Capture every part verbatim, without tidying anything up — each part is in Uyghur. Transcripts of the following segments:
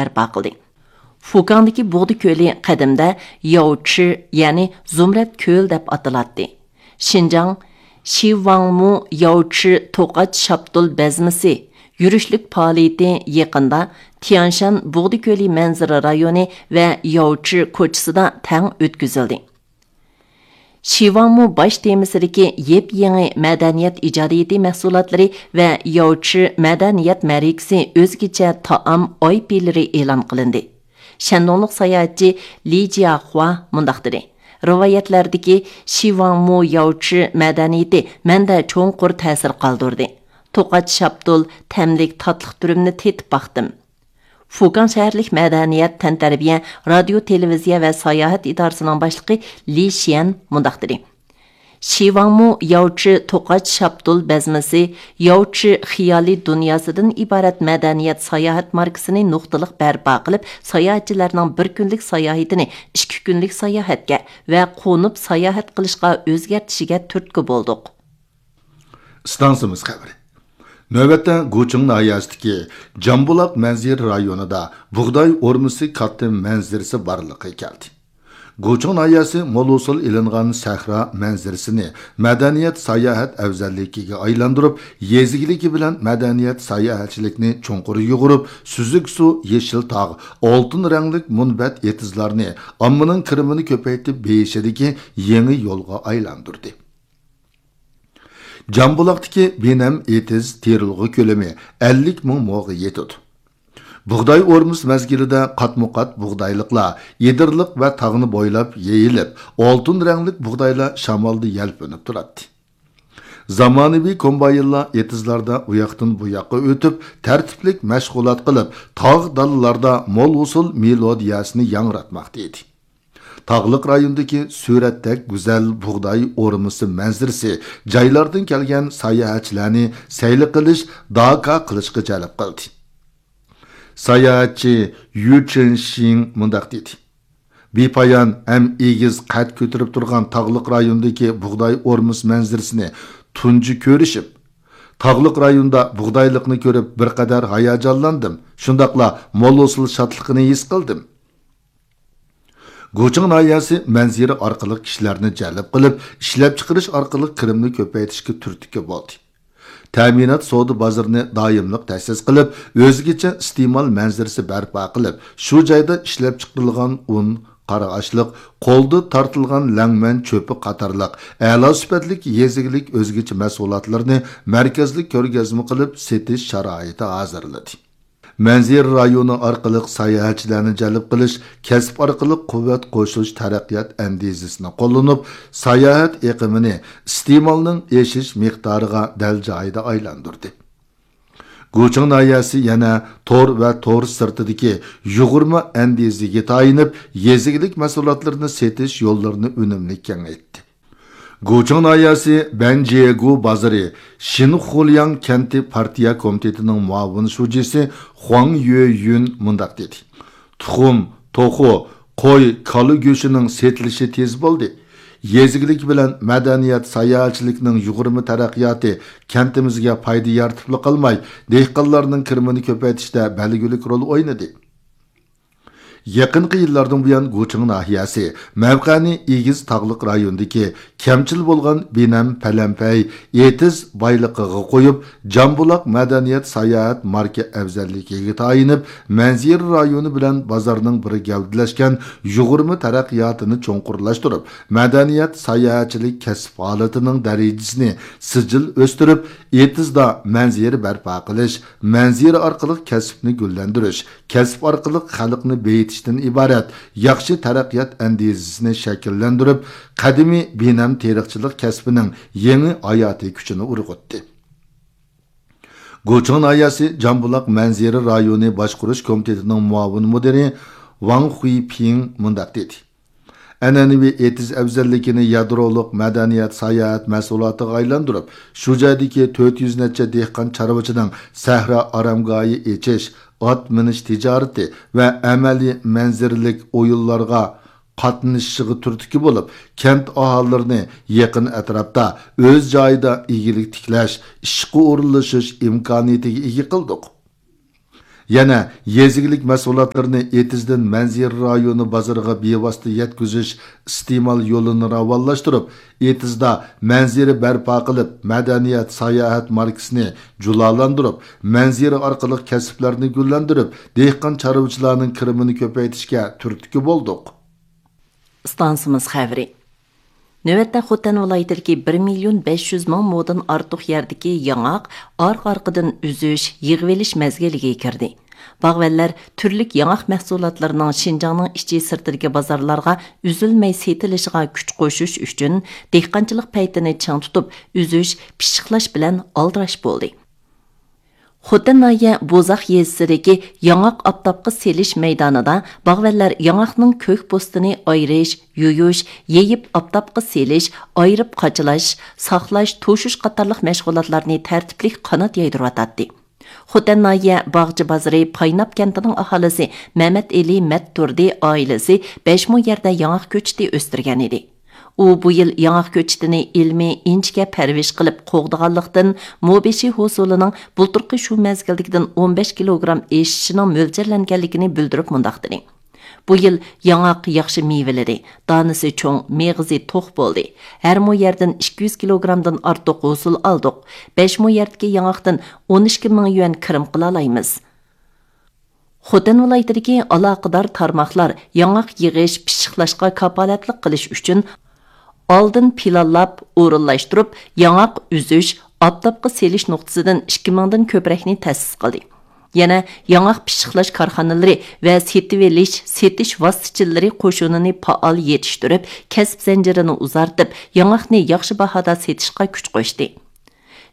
بەرپا قىلدى. فۇكاڭدىكى بۇغدا كۆلى قەدىمدە ياۋچى، يەنى زۇمرەت كۆل دەپ ئاتىلاتتى. شىنجاڭ شىۋاڭمۇ ياۋچى توقاچ شاپتۇل بەزمىسى يۈرۈشلۈك پائالىيىتى يېقىندا تيەنشان بۇغدا كۆلى مەنزىرە رايونى ۋە ياۋچى كوچىسىدا تەڭ ئۆتكۈزۈلدى. شىۋاڭمۇ باش تېمىسىدىكى يېپيېڭى مەدەنىيەت ئىجادىيىتى مەھسۇلاتلىرى ۋە ياۋچى مەدەنىيەت مەرىكىسى ئۆزگىچە تائام ئايپىلىرى ئېلان قىلىندى. شەندۇڭلۇق ساياھەتچى لى جياخۇا مۇنداق دېدى: رىۋايەتلەردىكى شىۋاڭمۇ ياۋچى مەدەنىيىتى مەندە چوڭقۇر تەسىر قالدۇردى. توقاچ شاپتۇل، تەملىك تاتلىق دۈرۈمنى تېتىپ باقتىم. فۇكاڭ شەھەرلىك مەدەنىيەت، تەنتەربىيە، رادىيو، تېلېۋىزىيە ۋە ساياھەت ئىدارىسىنىڭ باشلىقى لى شيەن مۇنداق دېدى: شىۋاڭمۇ ياۋچى توقاچ شاپتۇل بەزمىسى، ياۋچى خىيالىي دۇنياسىدىن ئىبارەت مەدەنىيەت ساياھەت ماركىسىنى نۇقتىلىق بەرپا قىلىپ، ساياھەتچىلەرنىڭ بىر كۈنلۈك ساياھىتىنى ئىككى كۈنلۈك ساياھەتكە ۋە قونۇپ ساياھەت قىلىشقا ئۆزگەرتىشىگە تۈرتكە بولدۇق. ئىستانسىمىز خەۋىرى. نۆۋەتتە گۇچىڭ ناھىيەسىدىكى جامبۇلاق مەنزىرە رايونىدا بۇغداي ئورمىسى كاتتا مەنزىرىسى بارلىققا كەلدى. گۇچىڭ ناھىيەسى مول ھوسۇل ئېلىنغان سەھرا مەنزىرىسىنى مەدەنىيەت ساياھەت ئەۋزەللىكىگە ئايلاندۇرۇپ، يېزا ئىگىلىكى بىلەن مەدەنىيەت ساياھەتچىلىكنى چوڭقۇر يۇغۇرۇپ، سۈزۈك سۇ، يېشىل تاغ، ئالتۇن رەڭلىك مۇنبەت ئېتىزلارنى ئاممىنىڭ كىرىمىنى كۆپەيتىپ بېيىشىدىكى يېڭى يولغا ئايلاندۇردى. جامبۇلاقتىكى بىنەم ئېتىز تېرىلغۇ كۆلىمى ئەللىك مىڭ موغا يېتىدۇ. بۇغداي ئورمىسى مەزگىلىدە قاتمۇ قات بۇغدايلىقلار ئېدىرلىق ۋە تاغنى بويلاپ يېيىلىپ، ئالتۇن رەڭلىك بۇغدايلار شامالدا يەلپۈنۈپ تۇراتتى. زامانىۋى كومباينلار ئېتىزلاردا ئۇياقتىن بۇياققا ئۆتۈپ، تەرتىپلىك مەشغۇلات قىلىپ، تاغ دالىلاردا مول ھوسۇل مېلودىيەسىنى ياڭراتماقتا ئىدى. تاغلىق رايوندىكى سۈرەتتەك گۈزەل بۇغداي ئورمىسى مەنزىرىسى جايلاردىن كەلگەن ساياھەتچىلەرنى سەيلە قىلىش، داكا قىلىشقا جەلپ قىلدى. ساياھەتچى يۈ چېنشىڭ مۇنداق دېدى: بىپايان ھەم ئېگىز قەد كۆتۈرۈپ تۇرغان تاغلىق رايوندىكى بۇغداي ئورمىسى مەنزىرىسىنى تۇنجى كۆرۈشۈپ، تاغلىق رايوندا بۇغدايلىقنى كۆرۈپ بىر قەدەر ھاياجانلاندىم، شۇنداقلا مول ھوسۇل شادلىقىنى ھېس قىلدىم. گۇچىڭ ناھىيەسى مەنزىرە ئارقىلىق كىشىلەرنى جەلپ قىلىپ، ئىشلەپچىقىرىش ئارقىلىق كىرىمنى كۆپەيتىشكە تۈرتكە بولدى. تەمىنات سودا بازىرىنى دائىملىق تەسىس قىلىپ، ئۆزگىچە ئىستېمال مەنزىرىسى بەرپا قىلىپ، شۇ جايدا ئىشلەپچىقىرىلغان ئۇن، قارا ئاشلىق، قولدا تارتىلغان لەڭمەن چۆپى قاتارلىق ئەلا سۈپەتلىك يېزا ئىگىلىك ئۆزگىچە مەھسۇلاتلىرىنى مەركەزلىك كۆرگەزمە قىلىپ سېتىش شارائىتى ھازىرلىدى. مەنزىرە رايونى ئارقىلىق ساياھەتچىلەرنى جەلپ قىلىش، كەسىپ ئارقىلىق قۇۋۋەت قوشۇش تەرەققىيات ئەندىزىسىنى قوللىنىپ، ساياھەت ئېقىمىنى ئىستېمالنىڭ ئېشىش مىقدارىغا دەل جايىدا ئايلاندۇردى. گۇچىڭ ناھىيەسى يەنە تور ۋە تور سىرتىدىكى يۇغۇرما ئەندىزىگە تايىنىپ، يېزا ئىگىلىك مەھسۇلاتلىرىنى سېتىش يوللىرىنى ئۈنۈملۈك كېڭەيتتى. گۇچىڭ ناھىيەسى بەنجيېگۇ بازىرى شىنخۇلياڭ كەنتى پارتىيە كومىتېتىنىڭ مۇئاۋىن شۇجىسى خۇاڭ يۆيۈن مۇنداق دېدى: تۇخۇم، توخۇ، قوي، كالا گۆشىنىڭ سېتىلىشى تېز بولدى. يېزا ئىگىلىكى بىلەن مەدەنىيەت، ساياھەتچىلىكنىڭ يۇغۇرما تەرەققىياتى كەنتىمىزگە پايدا يارىتىپلا قالماي، دېھقانلارنىڭ كىرىمىنى كۆپەيتىشتە بەلگىلىك رول ئوينىدى. يېقىنقى يىللاردىن بۇيان، گۇچىڭ ناھىيەسى مەۋقەنى ئېگىز تاغلىق رايوندىكى كەمچىل بولغان بىنەم پەلەمپەي ئېتىز بايلىقىغا قويۇپ، جامبۇلاق مەدەنىيەت ساياھەت ماركا ئەۋزەللىكىگە تايىنىپ، مەنزىرە رايونى بىلەن بازارنىڭ بىر گەۋدىلەشكەن يۇغۇرما تەرەققىياتىنى چوڭقۇرلاشتۇرۇپ، مەدەنىيەت ساياھەتچىلىك كەسىپ ھالىتىنىڭ دەرىجىسىنى سىجىل ئۆستۈرۈپ، ئېتىزدا مەنزىرە بەرپا قىلىش، مەنزىرە ئارقىلىق كەسىپنى گۈللەندۈرۈش، كەسىپ ئارقىلىق خەلقنى بېيىتىشتىن ئىبارەت ياخشى تەرەققىيات ئەندىزىسىنى شەكىللەندۈرۈپ، قەدىمىي بىنەم تېرىقچىلىق كەسپىنىڭ يېڭى ھاياتىي كۈچىنى ئۇرغۇتتى. گۇچىڭ ناھىيەسى جامبۇلاق مەنزىرە رايونى باشقۇرۇش كومىتېتىنىڭ مۇئاۋىن مۇدىرى ۋاڭ خۇيپىڭ مۇنداق دېدى: ئەنئەنىۋى ئېتىز ئەۋزەللىكىنى يادرولۇق مەدەنىيەت ساياھەت مەھسۇلاتىغا ئايلاندۇرۇپ، شۇ جايدىكى تۆت يۈز نەچچە دېھقان چارۋىچىنىڭ سەھرا ئارامگاھى ئېچىش، ئات مىنىش تىجارىتى ۋە ئەمەلىي مەنزىرىلىك ئويۇنلارغا قاتنىشىشىغا تۈرتكە بولۇپ، كەنت ئاھالىلىرىنى يېقىن ئەتراپتا ئۆز جايىدا ئىگىلىك تىكلەش، ئىشقا ئورۇنلىشىش ئىمكانىيىتىگە ئىگە قىلدۇق. يەنە يېزا ئىگىلىك مەھسۇلاتلىرىنى ئېتىزدىن مەنزىرە رايونى بازىرىغا بىۋاسىتە يەتكۈزۈش ئىستېمال يولىنى راۋانلاشتۇرۇپ، ئېتىزدا مەنزىرە بەرپا قىلىپ، مەدەنىيەت، ساياھەت ماركىسىنى جۇلالاندۇرۇپ، مەنزىرە ئارقىلىق كەسىپلەرنى گۈللەندۈرۈپ، دېھقان چارۋىچىلارنىڭ كىرىمىنى كۆپەيتىشكە تۈرتكە بولدۇق. ئىستانسىمىز خەۋىرى. نۆۋەتتە خوتەن ۋىلايىتىدىكى بىر مىليون بەش يۈز مىڭ مودىن ئارتۇق يەردىكى ياڭاق ئارقا-ئارقىدىن ئۈزۈش، يىغىۋېلىش مەزگىلىگە كىردى. باغۋەنلەر تۈرلۈك ياڭاق مەھسۇلاتلىرىنىڭ شىنجاڭنىڭ ئىچى سىرتىدىكى بازارلارغا ئۈزۈلمەي سېتىلىشىغا كۈچ قوشۇش ئۈچۈن، دېھقانچىلىق پەيتىنى چىڭ تۇتۇپ، ئۈزۈش، پىششىقلاش بىلەن ئالدىراش بولدى. خوتەن ناھىيە بوزاق يېزىسىدىكى ياڭاق ئاپتاپقا سېلىش مەيدانىدا باغۋەنلەر ياڭاقنىڭ كۆك پوستىنى ئايرىش، يۇيۇش، يېيىپ ئاپتاپقا سېلىش، ئايرىپ قاچىلاش، ساقلاش، توشۇش قاتارلىق مەشغۇلاتلارنى تەرتىپلىك قانات يايدۇرۇۋاتاتتى. خوتەن ناھىيە باغچە بازىرى پايناپ كەنتىنىڭ ئاھالىسى مەمەتئېلى مەتتۇردى ئائىلىسى بەش مو يەردە ياڭاق كۆچىتى ئۆستۈرگەن ئىدى. ئۇ بۇ يىل ياڭاق كۆچىتىنى ئىلمىي، ئىنچىكە پەرۋىش قىلىپ قوغدىغانلىقتىن، مو بېشى ھوسۇلىنىڭ بۇلتۇرقى شۇ مەزگىلدىكىدىن ئون بەش كىلوگرام ئېشىشىنىڭ مۆلچەرلەنگەنلىكىنى بىلدۈرۈپ مۇنداق دېدى: بۇ يىل ياڭاق ياخشى مېۋىلىدى، دانىسى چوڭ، مېغىزى توق بولدى. ھەر مو يەردىن ئىككى يۈز كىلوگرامدىن ئارتۇق ھوسۇل ئالدۇق. بەش مو يەردىكى ياڭاقتىن ئون ئىككى مىڭ يۈەن كىرىم قىلالايمىز. خوتەن ۋىلايىتىدىكى ئالاقىدار تارماقلار ياڭاق يىغىش، پىششىقلاشقا كاپالەتلىك قىلىش ئۈچۈن ئالدىن پىلانلاپ، ئورۇنلاشتۇرۇپ، ياڭاق ئۈزۈش، ئاپتاپقا سېلىش نۇقتىسىدىن ئىككى مىڭدىن كۆپرەكنى تەسىس قىلدى. يەنە ياڭاق پىششىقلاش كارخانىلىرى ۋە سېتىۋېلىش، سېتىش ۋاسىتىچىلىرى قوشۇنىنى پائال يېتىشتۈرۈپ، كەسىپ زەنجىرىنى ئۇزارتىپ، ياڭاقنى ياخشى باھادا سېتىشقا كۈچ قوشتى.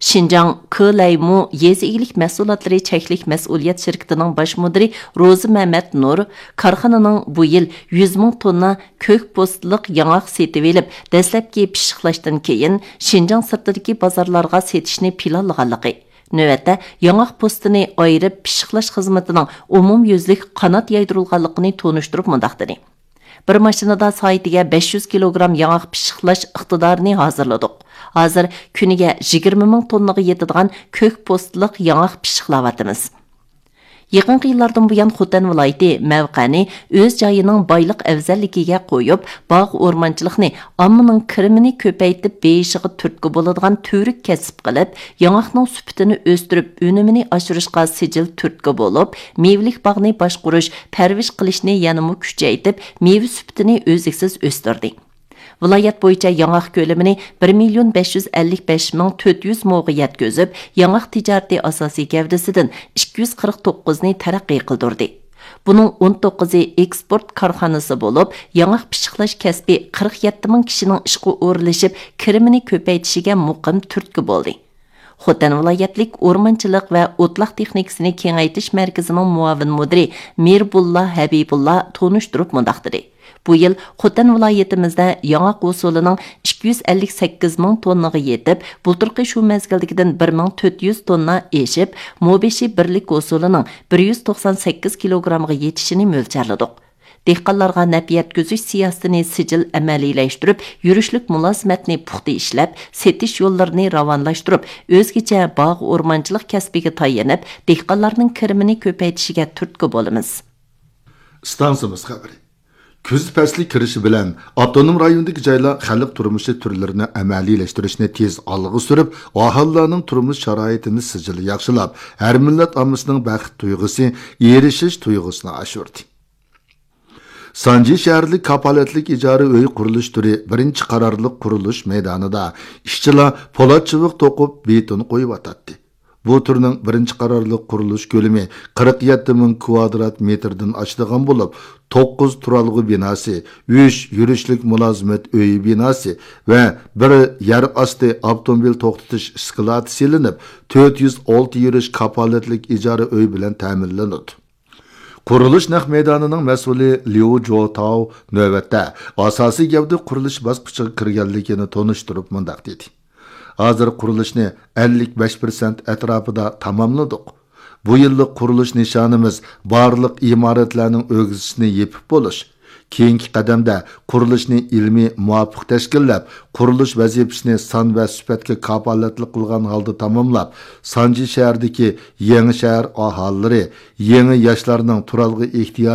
شىنجاڭ كېلەيمۇ يېزا ئىگىلىك مەھسۇلاتلىرى چەكلىك مەسئۇلىيەت شىركىتىنىڭ باش مۇدىرى روزى مەمەت نۇر كارخانىنىڭ بۇ يىل يۈز مىڭ توننا كۆك پوستىلىق ياڭاق سېتىۋېلىپ، دەسلەپكى پىششىقلاشتىن كېيىن شىنجاڭ سىرتىدىكى بازارلارغا سېتىشنى پىلانلىغانلىقى، نۆۋەتتە ياڭاق پوستىنى ئايرىپ پىششىقلاش خىزمىتىنىڭ ئومۇميۈزلۈك قانات يايدۇرۇلغانلىقىنى تونۇشتۇرۇپ مۇنداق دېدى: بىر ماشىنىدا سائىتىگە بەش يۈز كىلوگرام ياڭاق پىششىقلاش ئىقتىدارىنى ھازىرلىدۇق. ھازىر كۈنىگە يىگىرمە مىڭ توننىغا يېتىدىغان كۆك پوستىلىق ياڭاق پىششىقلاۋاتىمىز. يېقىنقى يىللاردىن بۇيان خوتەن ۋىلايىتى مەۋقەنى ئۆز جايىنىڭ بايلىق ئەۋزەللىكىگە قويۇپ، باغ ئورمانچىلىقنى ئاممىنىڭ كىرىمىنى كۆپەيتىپ بېيىشىغا تۈرتكە بولىدىغان تۈۋرۈك كەسىپ قىلىپ، ياڭاقنىڭ سۈپىتىنى ئۆستۈرۈپ، ئۈنۈمىنى ئاشۇرۇشقا سىجىل تۈرتكە بولۇپ، مېۋىلىك باغنى باشقۇرۇش، پەرۋىش قىلىشنى يەنىمۇ كۈچەيتىپ، مېۋە سۈپىتىنى ئۈزلۈكسىز ئۆستۈردى. ۋىلايەت بويىچە ياڭاق كۆلىمىنى بىر مىليون بەش يۈز ئەللىك بەش مىڭ تۆت يۈز موغا يەتكۈزۈپ، ياڭاق تىجارىتى ئاساسىي گەۋدىسىدىن ئىككى يۈز قىرىق توققۇزنى تەرەققىي قىلدۇردى. بۇنىڭ ئون توققۇزى ئېكسپورت كارخانىسى بولۇپ، ياڭاق پىششىقلاش كەسپى قىرىق يەتتە مىڭ كىشىنىڭ ئىشقا ئورۇنلىشىپ، كىرىمىنى كۆپەيتىشىگە مۇقىم تۈرتكە بولدى. خوتەن ۋىلايەتلىك ئورمانچىلىق ۋە ئوتلاق تېخنىكىسىنى كېڭەيتىش مەركىزىنىڭ مۇئاۋىن مۇدىرى مىربۇللا ھەبىبۇللا تونۇشتۇرۇپ مۇنداق دېدى: بۇ يىل خوتەن ۋىلايىتىمىزدە ياڭاق ھوسۇلىنىڭ ئىككى يۈز ئەللىك سەككىز مىڭ توننىغا يېتىپ، بۇلتۇرقى شۇ مەزگىلدىكىدىن بىر مىڭ تۆت يۈز توننا ئېشىپ، مو بېشى بىرلىك ھوسۇلىنىڭ بىر يۈز توقسان سەككىز كىلوگرامغا يېتىشىنى مۆلچەرلىدۇق. دېھقانلارغا نەپ يەتكۈزۈش سىياسىتىنى سىجىل ئەمەلىيلەشتۈرۈپ، يۈرۈشلۈك مۇلازىمەتنى پۇختا ئىشلەپ، سېتىش يوللىرىنى راۋانلاشتۇرۇپ، ئۆزگىچە باغ ئورمانچىلىق كەسپىگە تايىنىپ، دېھقانلارنىڭ كىرىمىنى كۆپەيتىشىگە تۈرتكە بولىمىز. ئىستانسىمىز خەۋىرى. كۈز پەسلى كىرىشى بىلەن، ئاپتونوم رايوندىكى جايلار خەلق تۇرمۇشى تۈرلىرىنى ئەمەلىيلەشتۈرۈشنى تېز ئالغا سۈرۈپ، ئاھالىلەرنىڭ تۇرمۇش شارائىتىنى سىجىل ياخشىلاپ، ھەر مىللەت ئاممىسىنىڭ بەخت تۇيغۇسى، ئېرىشىش تۇيغۇسىنى ئاشۇردى. سانجى شەھەرلىك كاپالەتلىك ئىجارە ئۆي قۇرۇلۇش تۈرى بىرىنچى قارارلىق قۇرۇلۇش مەيدانىدا ئىشچىلار پولات چىۋىق توقۇپ، بېتون قويۇۋاتاتتى. بۇ تۈرنىڭ بىرىنچى قارارلىق قۇرۇلۇش كۆلىمى قىرىق يەتتە مىڭ كۋادرات مېتىردىن ئاشىدىغان بولۇپ، توققۇز تۇرالغۇ بىناسى، ئۈچ يۈرۈشلۈك مۇلازىمەت ئۆيى بىناسى ۋە بىر يەر ئاستى ئاپتوموبىل توختىتىش ئىسكىلاتى سېلىنىپ، تۆت يۈز ئالتە يۈرۈش كاپالەتلىك ئىجارە ئۆي بىلەن تەمىنلىنىدۇ. قۇرۇلۇش نەق مەيدانىنىڭ مەسئۇلى ليۇ جوتاۋ نۆۋەتتە ئاساسىي گەۋدە قۇرۇلۇش باسقۇچىغا كىرگەنلىكىنى تونۇشتۇرۇپ مۇنداق دېدى: ھازىر قۇرۇلۇشنى ئەللىك بەش پىرسەنت ئەتراپىدا تاماملىدۇق. بۇ يىللىق قۇرۇلۇش نىشانىمىز بارلىق ئىمارەتلەرنىڭ ئۆگزىسىنى يېپىپ بولۇش، كېيىنكى قەدەمدە قۇرۇلۇشنى ئىلمىي مۇۋاپىق تەشكىللەپ، قۇرۇلۇش ۋەزىپىسىنى سان ۋە سۈپەتكە كاپالەتلىك قىلغان ھالدا تاماملاپ، سانجى شەھىرىدىكى يېڭى شەھەر ئاھالىلىرى، يېڭى ياشلارنىڭ تۇرالغۇ ئېھتىياجى